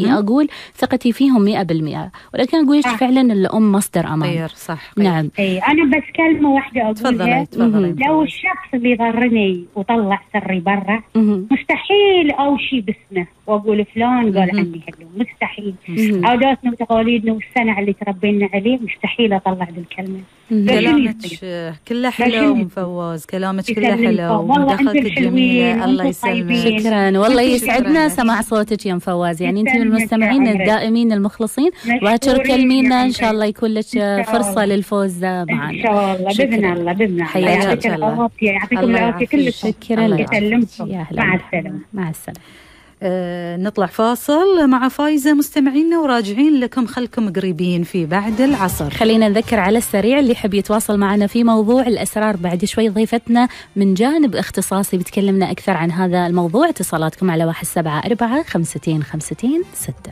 أقول ثقتي فيهم 100%، ولكن أقول فعلا الأم مصدر أمان. صح. نعم. أنا بس كلمة واحدة أقولها. تفضلي. لو الشخص اللي ضرني وطلع سري برا، مستحيل أوشي باسمه وأقول فلان قال عني هلو، مستحيل. عاداتنا وتقاليدنا والسنة اللي تربينا عليه مستحيل أطلع ذي الكلمة. كلامك كله حلو ومفوز، كلامك كله حلو ومداخلتك جميلة. الله يسلمك. شكرا، والله يسعدنا سماع صوتك يا مفوز. يعني انت من المستمعين الدائمين المخلصين، وتكلمينا ان شاء الله يكون لك فرصة للفوز معنا ان شاء الله. باذن الله. حياك الله. يعطيكم العافية كلكم. شكرا لك. مع السلامة. مع السلامة. نطلع فاصل مع فايزة مستمعينا، وراجعين لكم خلكم قريبين في بعد العصر. خلينا نذكر على السريع اللي يحب يتواصل معنا في موضوع الأسرار بعد شوي، ضيفتنا من جانب اختصاصي بتكلمنا أكثر عن هذا الموضوع. اتصالاتكم على 174 52 52 6.